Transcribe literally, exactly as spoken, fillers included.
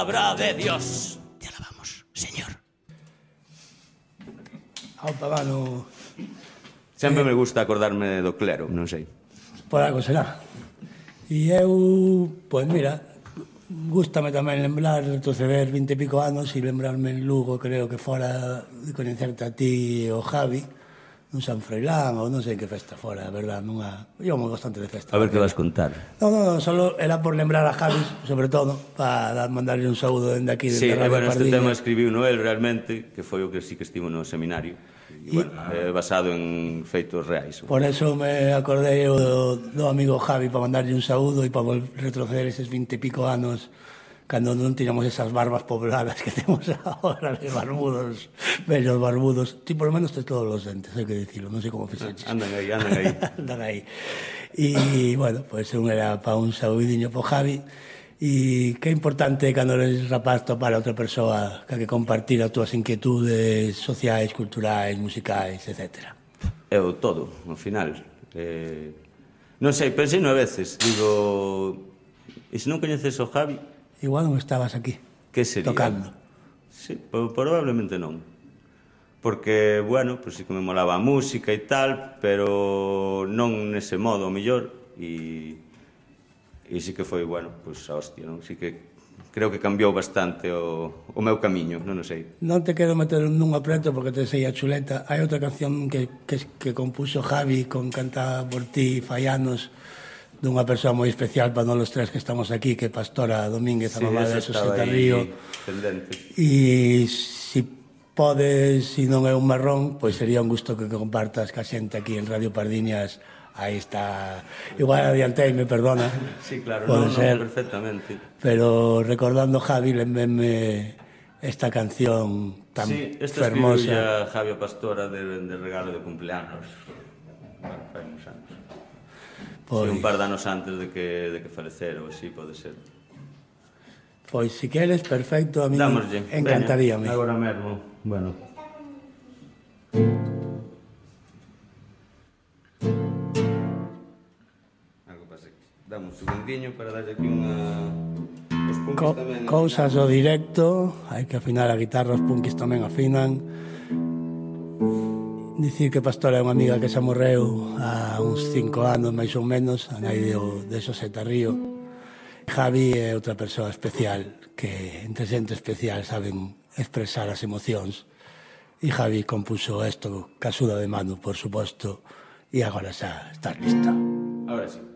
Palabra de Dios. Te alabamos, Señor. Opa, mano... Sempre me gusta acordarme do clero, non sei. Por algo será. E eu, pois mira, gústame tamén lembrar, retroceder vinte e pico anos e lembrarme en Lugo, creo que fora de conhecerte a ti e o Javi, nun San Froilán ou non sei que festa fora, a verdad, nunha... Eu moi bastante de festa. A ver que vas contar. Non, non, solo era por lembrar a Javi, sobre todo, para mandarle un saúdo dende aquí, dende sí, Radio bueno, este Pardiña. tema escribiu Noel realmente, que foi o que sí que estivo no seminario. E, bueno, é basado en feitos reais. Por eso me acordei do, do amigo Javi para mandarlle un saúdo e para retroceder eses vinte e pico anos cando non tiñamos esas barbas pobladas que temos agora de barbudos, bellos barbudos. Ti por lo menos tes todos os dentes, hai que dicirlo, non sei como fixeches. Andan aí, andan aí. Andan aí. E, bueno, pois pues, un era para un saudiño po Javi. E que é importante cando eres rapaz topar a outra persoa que que compartir as túas inquietudes sociais, culturais, musicais, etcétera. É o todo, ao final. Eh, non sei, pensei no a veces, digo, e se non coñeces o Javi? Igual non estabas aquí, que sería? Tocando. Sí, probablemente non. Porque, bueno, pues sí que me molaba a música e tal, pero non nese modo, o mellor, e... E sí que foi, bueno, pois a hostia, non? Sí que creo que cambiou bastante o, o meu camiño, non o sei. Non te quero meter nun apreto porque te sei a chuleta. Hai outra canción que, que, que compuso Javi con Cantada por ti fai anos dunha persoa moi especial para nós os tres que estamos aquí, que é Pastora Domínguez, sí, a mamá de Xoseta Río. Pendente. E se podes, se non é un marrón, pois sería un gusto que compartas ca xente aquí en Radio Pardiñas. Aí está, igual adianteime, perdona. Sí, claro, pode no, ser, no, perfectamente. Pero recordando Javi, lembéme esta canción tan sí, esta fermosa. Sí, esta escribiu Javi Pastora de, de regalo de cumpleanos. Bueno, fai uns anos. Pois... Sí, un par de anos antes de que, de que falecera, ou así, pode ser. Pois, si queres, perfecto, a mí Dámoslle. encantaríame. Veña, agora mesmo, bueno... Damos un segundinho para darlle aquí unha... Os punkis Co tamén... Cousas do directo, hai que afinar a guitarra, os punkis tamén afinan. Dicir que Pastora é unha amiga que xa morreu há uns cinco anos, máis ou menos, a nai de, de Xoseta Río. Javi é outra persoa especial, que entre xente especial saben expresar as emocións. E Javi compuso isto, ca axuda de Manu, por suposto, e agora xa estás lista. Ahora sí.